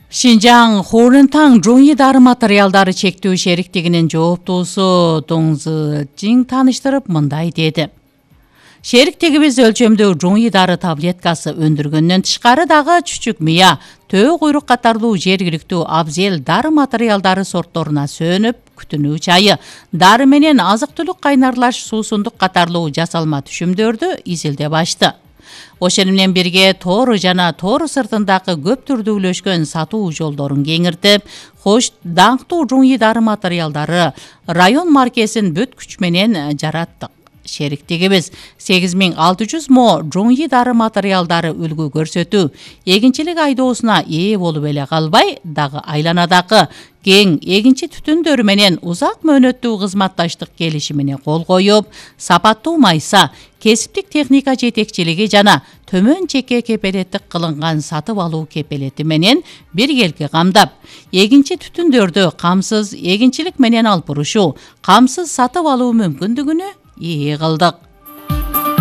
Шинжаң Хорунтаң жоңи дары материалдары чектөө шериктигинин жооптуусу Доң Зыжиң тааныштырып мындай деди. Шериктигибиз өлчөмдүү жоңи дары таблеткасы өндүргөндөн тышкары дагы чүчүк мыя, төө куйрук катарлуу жергиликтүү абзел дары материалдары сортторуна сөөнүп, күтүнүү чайы, дары менен азык-түлүк кайнарлаш суусундук катарлуу жасалма түшүмдөрдү изилдеп ачты. Ошону менен бирге Тору жана Тору сыртындагы көп түрдүүлөшкөн сатуу жолдорун кеңиртип, хош даңктуу жоңи дары материалдары район маркесин бүт күч менен жараттык. Шериктигибиз 8600 мо жоңи дары материалдары үлгү көрсөтүү, эгинчилик айдоосуна ээ болуп эле калбай, дагы айланадагы кең эгинчи түтүндөрү менен узак мөөнөттүү кызматташтык келишимине кол коюп, сапаттуу майса, кесиптик техника жетекчилиги жана төмөн чекке кепелеттик кылынган сатып алуу кепелети менен биргелки камдап, эгинчи түтүндөрдү камсыз эгинчилик менен алып бурушуу, камсыз сатып алуу мүмкүндүгүнө ээ кылдык.